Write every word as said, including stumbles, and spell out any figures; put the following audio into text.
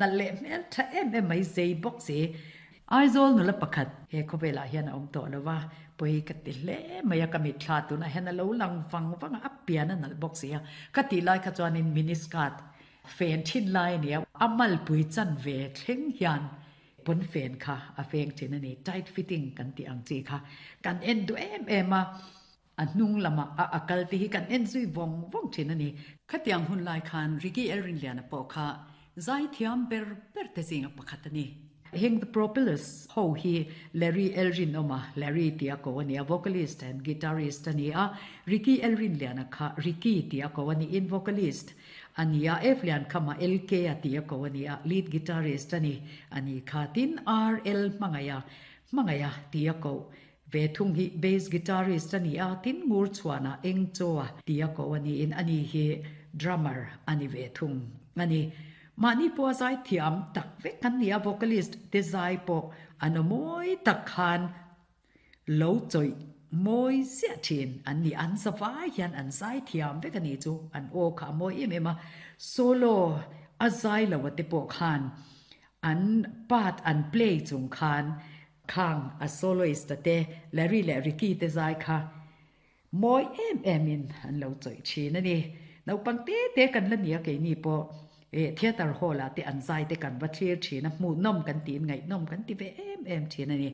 Nalh leh hmel tha em em mai zei bawk si. Aizawl nula pakhat he khawvelah hian a awm tawh lo va, pawi ka ti hle mai a, ka mitthla tunah hian a lo lang vang vang a, a pian a nalh bawk si a. Ka tih lai kha chuanin mini skirt fen thin lai a ni a, a malpui chan ve thleng hian pawnfen kha a feng thin a ni, tight fitting kan tih ang chi kha kan en duh em em a. A hnung lamah a a kal te hi kan en zui vawng vawng thin a ni. Khatiang hun lai khan Ricky Elrinliana pawh kha zaithiam ber ber te zinga pakhat a ni. Heng The Propellers ho hi Larry Elrinawma, Larry tia ko a ni a, vocalist and guitarist a ni a, Ricky Elrinliana kha Ricky tia ko a niin vocalist a ni a, F Liankhama L K a tia ko a ni a, lead guitarist a ni a ni kha. Tin, R L Hmangaia, Hmangaia tia ko ve thung hi bass guitarist a ni a, tin Ngurchhuana Engchaw tia ko a niin ani hi drummer a ni ve thung a ni. Mahni pawh a zai thiam tak vek an ni a, vocalist te zai pawh an aw mawi tak khan lo chawih mawi ziah thin an ni. An zavai hian an zai thiam vek a ni chu, an aw kha a mawi em em a, solo a zai lo a te pawh khan an part an play chung khan khang a soloist te Larry leh Ricky te zai kha mawi em em in an lo chawih thin a ni. Naupang te te kan la ni a, keini pawh e theatre hall ah te an zai te kan va thlir thin a, hmuh nawm kan tiin ngaihnawm kan ti ve em em thin a ni.